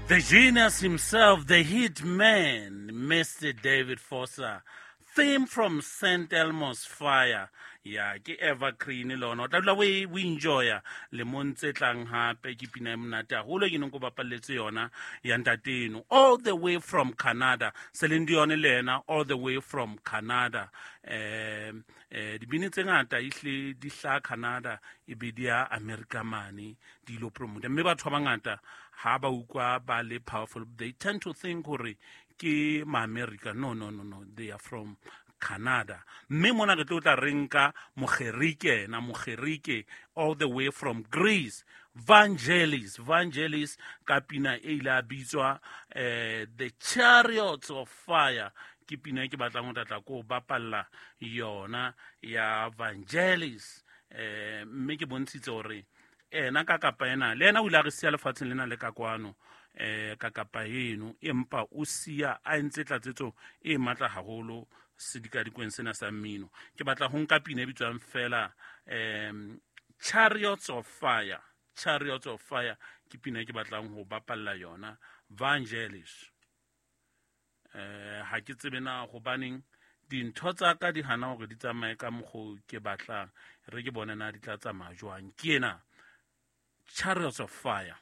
The genius himself, the hit man, Mr. David Foster. Theme from St. Elmo's Fire. Ya, ke evergreen lona. O tla dula o e enjoya lemong tse tlang hape ke pina e monate haholo ke neng ko bapalletse yona ya ntateno. All the way from Canada. Celine Dion le yena all the way from Canada. Dibini tse ngata ehle di hlaha Canada e be di ya America mane di ilo promote. Mme batho ba bangata ha ba utlwa ba le powerful, they tend to think hore ke ma-America. No, no, no, no, they are from Canada. Mme mona re tlo tla re nka Mogerike na Mogerike all the way from Greece, Vangelis. Vangelis ka pina e ile a bitswa The Chariots of Fire. Ke pina e ke batlang ho tlatla ko bapalla yona ya Vangelis. Mme ke bontshitse hore ena ka kapa ena le ena o ile a re siya lefatsheng lena le ka kwano ka kapa eno, empa o siya a entse tlatsetso e matla haholo sedikadikweng sena sa mmino. Ke batla ho nka pina e bitswang fela Chariots of Fire. Chariots of Fire ke pina e ke batlang ho bapalla yona Vangelis. Ha ke tsebe na hobaneng dintho tsa ka di hana hore di tsamaye ka mokgo ke batlang. Re ke bone na di tla tsamaya jwang. Ke ena Chariots of Fire.